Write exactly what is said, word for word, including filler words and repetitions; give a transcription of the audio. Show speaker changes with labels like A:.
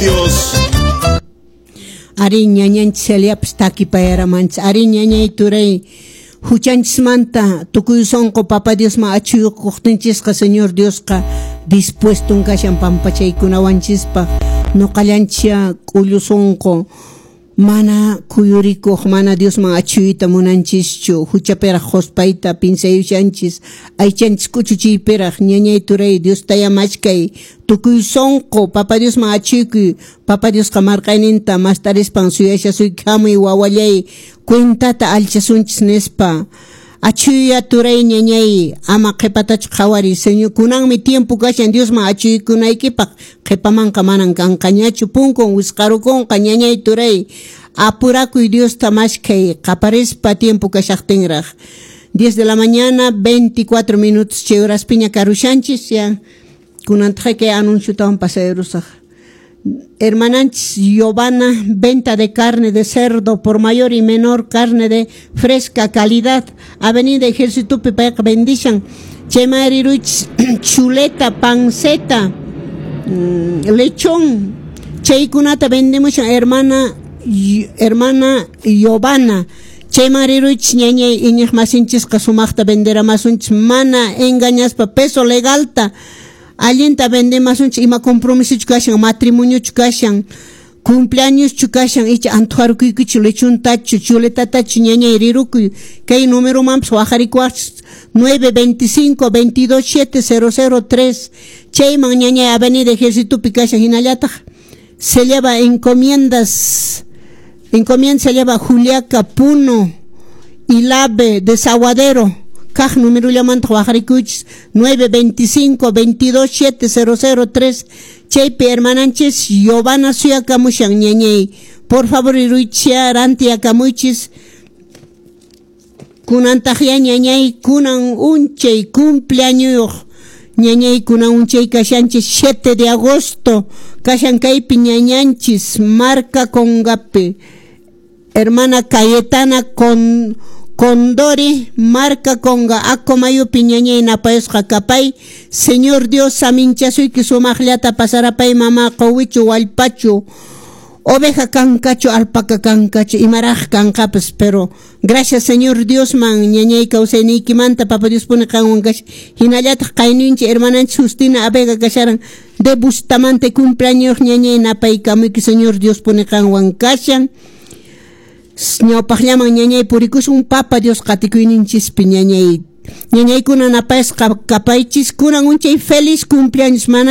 A: Dios.
B: Ari ñañanchis Celiapas takipayaramanchis. Ari ñañay turay huchanchismanta tukuy sunqu Papa Diosman achuyukuqtinchisqa Señor Diosqa dispuesto kashan pampachaykunawanchispaq. Nuqallanchis k'ullu sunqu mana kuyurikuq mana Diosman achuyta munanchischu huchapiraq quspayta pinsayushanchis aychanchis k'uchuchiypiraq. Ñañay turay Diosta machkay tukuy sunqu Papa Diosman achuykuy. Papa Diosqa marqayninta mastarispan suyashasuyki hamuy wawallay cuentata alchasunchis nispa. Achuya turay ñañay ama qhipatachu qhawariy. Señor kunanmi tiempo kashan Diosman achuykunaykipaq qhipamanqa manan kanqañachu punkun wisqarukunqa. Ñañay turay apurakuy Diosta mashkay qaparispa tiempo kashaqtinraq. diez de la mañana veinticuatro minutos chay horaspiña karushanchis ya kunantaq kay anunciotawan pasayarusaq. Hermananchis Giovanna, venta de carne de cerdo por mayor y menor, carne de fresca calidad, Avenida Ejército payqa vendishan. Chayman riruychis chuleta, panceta, mm, lechón, chaykunata vendemushan hermana hermana Giovanna. Chayman riruychis ñañay iñiq masinchisqa sumaqta venderamasunchis mana engañaspa peso legalta. Allinta vendemasunchis ima compromisochu kashan, matrimoniochu kashan, cumpleañoschu kashan, icha antuharukuykichu lechuntachu, chuletatachu ñañay rirukuy. Kay numeromanpas waqarikuwaqchis nueve veinticinco veintidós siete cero cero tres. Chayman ñañay Avenida Ejércitopi kashan hinallataq se lleva encomiendas, encomienda se lleva Juliaca, Puno, Ilave, Desaguadero. Kaq numerollamanta waqarikuychis nueve veinticinco veintidós siete cero cero tres. Chaypi hermananchis Giovanna suyakamushan ñañay. Por favor riruychis rantiyakamuychis. Kunantaq ya ñañay kunan unchay cumpleañoyuq ñañay kunan unchay kashanchis siete de agosto kashan kaypi ñañanchis Marca Congapi hermana Cayetana con Condori, Marca Conga, Acomayupi ñañay napayusqa kapay. Señor Dios saminchasuyki sumaqllata pasarapay mama quwichu wallpachu oveja kankachu alpaca kankachu imaraq kanqapas, pero gracias Señor Dios man ñañay kawsayniykimanta Papa Dios pone qanwan kasha. Hinallataq qayninchik hermananchik Justina Abega kasharan de Bustamante cumpleaños ñañay napaykamuyki Señor Dios pone qanwan kashan. Ñawpaqllaman ñañay purikusun Papa Dios qatikuyninchispi ñañay. Ñañaykuna napayasqa kapaychis kunan unchay feliz cumpleaños mana.